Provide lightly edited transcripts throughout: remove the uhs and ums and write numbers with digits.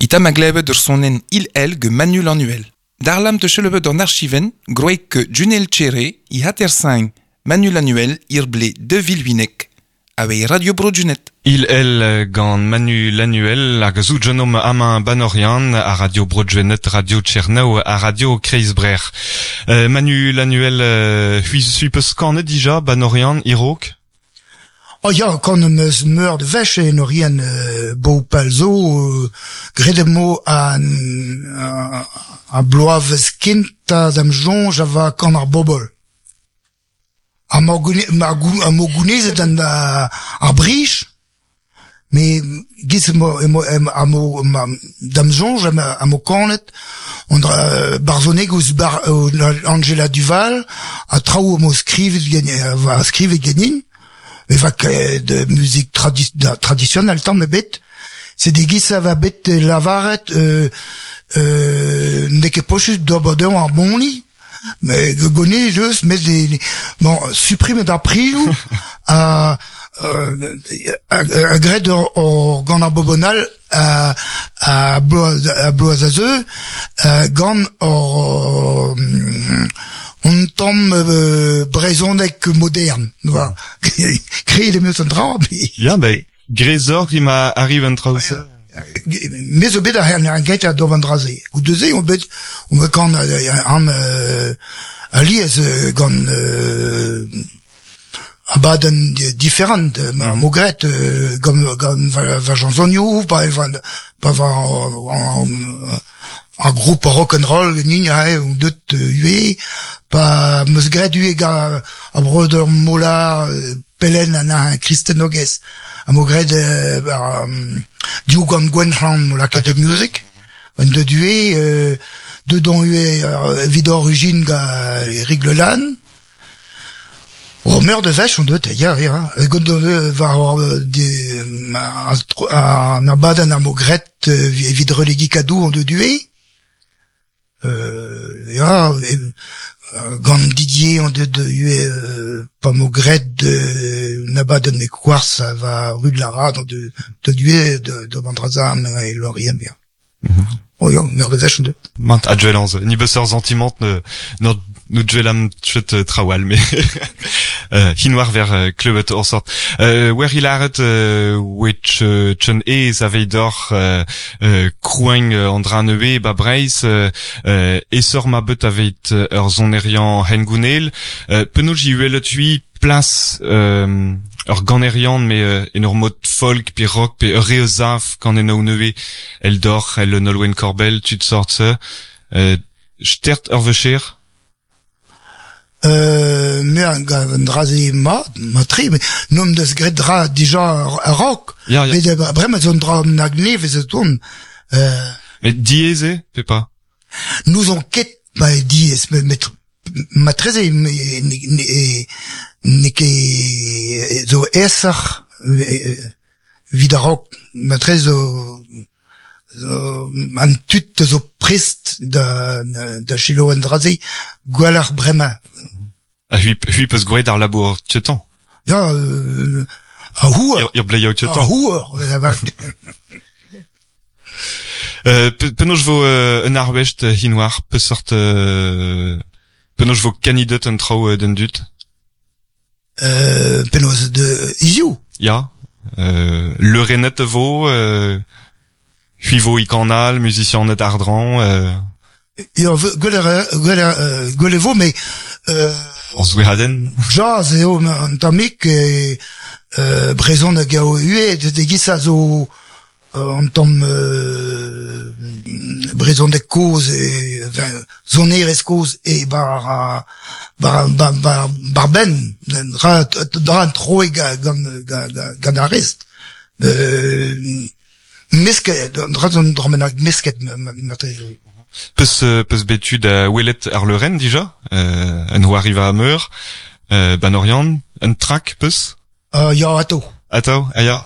Ita ma glevet ur sonenn Il-El ge Manu Lanuel. Darlam te chelevet an archiven, groek Junel Tchere, i hater Manu Lanuel, irble 2008. Avei Radio Bro Junet. Il el gant Manu Lanuel hag zo genom amañ Banorian a Radio Bro Junet, Radio Tchernev a Radio Kreizbrer. Euh, Manu Lanuel, euh, hui sui peus kanet dija Banorian irok? Oh ya, kan am eus meur de wech en orien euh, bo palzo, euh, graet emo an, a, a bloavezh kentañ da'm soñj a va kan ar bobol. Ha ma ma gounezet an ar brij, me giz emo emo emo da'm soñj am o kanet on barzhoneg ouzh bar Angela Duval ha traoù am skrivet va skrivet ganin. E va ket muzik tradi traditionnel tamm ebet. C'est degiz a va bet lavaret euh, euh, n'eo ket posupl d'ober dezhañ ar boni, mais gonez eus met bon supprimet ar prioù ha a graet ur gant ar bobonal a a bloaz a bloaz a zeu gant hor un tamm brezhoneg modern voilà. Graet em eus an dra Ya, ben, grezoc'h ema arriv an traoù-se. Me zo bet ar gentañ d'ober an dra-se. Goude-se on bet on bet gant an alies gant abadenn diferant ma mo graet gant gant va chansonioù pa pa va ar groupe rock and roll ganin aze on deut ivez pa 'm eus graet ivez gant ar breudeur Mola Pellen an Kristen Ogez ha mo graet div gant Gwenn-Hlan mo lakaet da music an deut ivez deut on ivez evit origin gant Eric Le Lann. Oh meur de wech on deut ya ya gant war an abadenn am bo graet evit relegi kadoù on deut ivez. Ya gant Didier on deut ivez pa 'mo graet un abadenn e Koars war rue de la Rade on deut ivez d'ober an dra-se e Lorient ya. Oh ya, meur de wech on deut. Mat a dwelañs, ni beus ur santimant ne nou dwelam chet trawal, mais hinoar ver klevet ur sort. Wer ilaret wech chen ez aveidoc'h kroueñ an dra nevez ba Breizh esor ma bet aveit ur sonerian hengounel. Penaos ji welet hui plas ur ganerian me en ur mod folk pe rock pe ur re eus af kanennoù nevez eldoc'h el Nolwenn Korbel tud sort-se. Stert ur vecher? Euh, me a gav an dra-se mat, mat-tre, met n'omp deus graet dra dija a-raok. Ya, ya. Met bremañ zo un dra nag nevez o tont. Euh, Met diaes eo, pe pas? N'ouzon ket ma eo diaes, met, met matreze n'eo ket zo aesoc'h evit a-raok. Matreze zo zo an tud zo prest da da selaou an dra-se gwelloc'h bremañ. Ha c'hwi c'hwi 'peus gwraet ar labour tiotañ? Ya, ar houer. Ur bleioù tiotañ. Ar houer, Penaos vo un arvest hinoar peseurt penaos vo kannidet an traoù d'an dud? Penaos de hiziv? Ya, leurennet e vo, c'hwi vo e kanal, muzisianed àr-draoñ. Ya, gwell gwell e vo, met Ur zoueadenn? Jazz eo un tammig, brezhoneg eo ivez, e-giz a zo an tamm brezhoneg kozh, sonerezh kozh e war war war benn dra dra an troig gant gant ar rest. Mesket, dra zo un dra bennak mesket marteze. Peus peus bet tu da welet ar leurenn dija, un c'hoariva meur, 'ba 'n Oriant, un trak peus? Ya, atav. Atav, ah ya.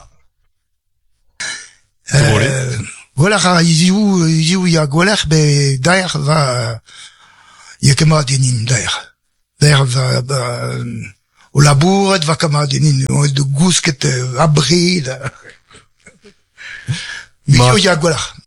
Gwelloc'h a ra hiziv, hiziv ya gwelloc'h bet daer va ya ket mat ganin daer. Daer va o labourat va ket mat ganin, o gousket abred. Met hiziv ya gwelloc'h.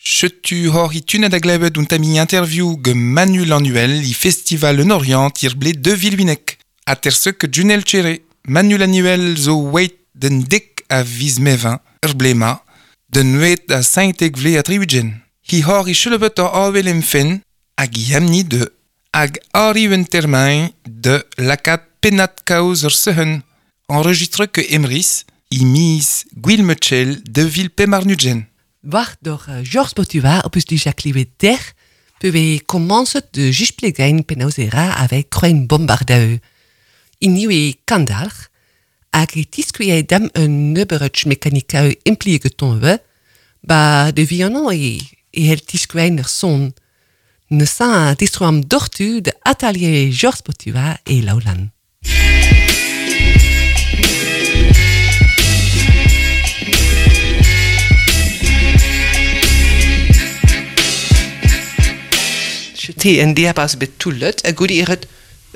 Chetu hor i tunet a glevet un tami interview ge Manu Lanuel i festival en Orient ir ble de Vilwinek. A terse ke Junel Chere. Manu Lanuel zo wait den dek a viz mevin, ur blema, den wet a saintek vle a tribugen. Hi hor i chelebet ur awel em fen, hag i amni de, hag ari un termain de lakat penat kaoz ur sehen. Enregistre ke Emris, i mis Gwilmechel de vil pemarnugen. Wacht door Georges Botua op us die Jacques der, pe commence de jusplegain penausera avec kroen bombardeu. In nieuwe kandalch, hag e tiskuie dam un neuberutch mechanikau impliege tonwe, ba de violon e, e hel tiskuein er son. Ne sa distroam dortu de atelier Georges Botua e Laulan. Te en dia pas bet toulet, a goudi eret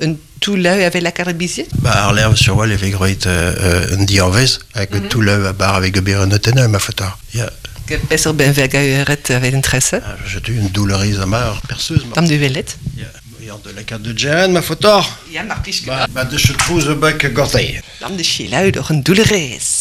un touleu avec la carabiziet? Ba ar lerv sur wal evit groet un dianvez, hag mm -hmm. touleu a bar avec ober un oteneu ma fotar. Ya. Yeah. Besser ben verga eret avec un tresse? Ah, je tu une douloureuse amar perseuse. Tam de velet? Ya. Yeah. de la carte de Jan, ma fotar. Ja, mar plij Ba, ba de se trouz bek gortei. Dam de chilau door een douloureuse.